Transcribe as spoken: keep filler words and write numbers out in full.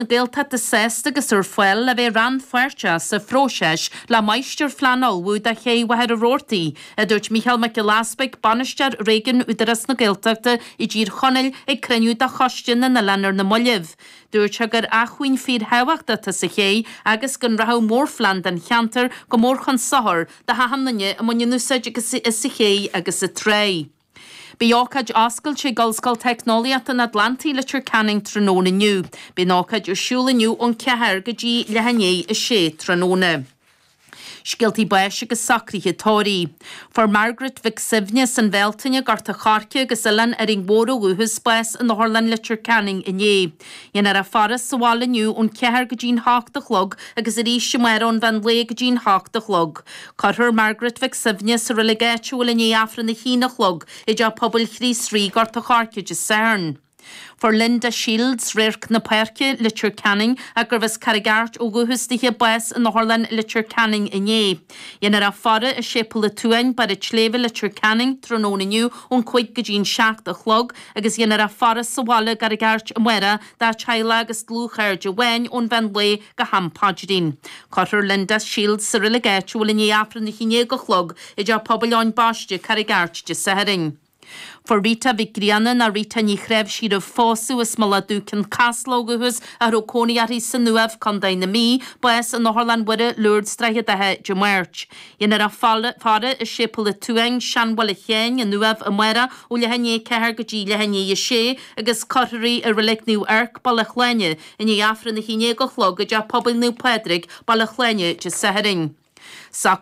na Gaeltachta sásta agus ar fáil le bheith rannpháirteach sa phróiseas le máistirphlean a ullmhú do ché Mhachaire Rabhartaigh, a dúirt Mícheál Mac Giolla Easpaig, Bainisteoir Réigiún Údarás na Gaeltachta i dTír Chonaill ag cruinniú de Choiste na nOileán ar na mallaibh. Dúirt sé gur acmhainn fíorthábhachtach atá sa ché agus go rachadh mórphlean don cheantar go mór chun sochair do achan duine a mbaineann úsáid as an ché agus an trá. Beidh ócáid oscailte ag Ollscoil Teicneolaíochta an Atlantaigh Leitir Ceanainn tráthnóna inniu. Beidh an ócáid ar siúl inniu ón ceathair go dtí leath i ndiaidh a sé tráthnóna. Scéaltaí báis agus socruithe tórraimh. Fuair Margaret Mhic Suibhne as an Bhealtaine, Gort a' Choirce agus Oileán Árainn Mhór ó dhúchas, bás in Otharlann Leitir Ceanainn inné. Dhéanfar a faire sa bhaile inniu ón ceathair go dtí'n hocht a chlog agus arís amárach ón mheán lae go dtí'n hocht a chlog. Cuirfear Margaret Mhic Suibhne sa reilig áitiúil i ndiaidh Aifreann a haon a chlog i dTeach Pobail Chríost Rí, Gort a' Choirce Dé Sathairn. Fuair Linda Shields, Radharc na Páirce, Leitir Ceanainn, ach gurbh as Carraig Airt ó dhúchas dithe, bás in Otharlann Leitir Ceanainn inné. Dhéanfar a faire i Séipéal an tSuain, Barr an tSléibhe, Leitir Ceanainn, tráthnóna inniu ón cúig go dtí'n seacht a chlog agus dhéanfar a faire sa bhaile i gCarraig Airt amárach dá teaghlach agus dlúthchairde amháin ón mheán lae go ham paidrín. Cuirfear Linda Shields sa reilig áitiúil i ndiaidh Aifreann a haon déag a chlog i dTeach Pobail Eoin Baiste, Carraig Airt, Dé Sathairn. Fuair Rita Mhic Grianna nó Rita Ní Chnáimhsí roimh phósadh as Mullach Dubh Cionn Caslach ó dhúchas a raibh cónaí uirthi san Uaimh, Contae na Mí, bás in Otharlann Mhuire, Lourdes, Droichead Átha, Dé Máirt. Dhéanfar a faire i Séipéal an tSuain, Seanbhaile Sheáin, an Uaimh, amárach ó leath i ndiaidh a ceathair go dtí leath i ndiaidh a sé agus cuirfear í i Reilig Naomh Eirc, Baile Shláine, i ndiaidh Aifreann a haon déag a chlog i dTeach Pobail Naomh Pádraig, Baile Shláine, Dé Sathairn.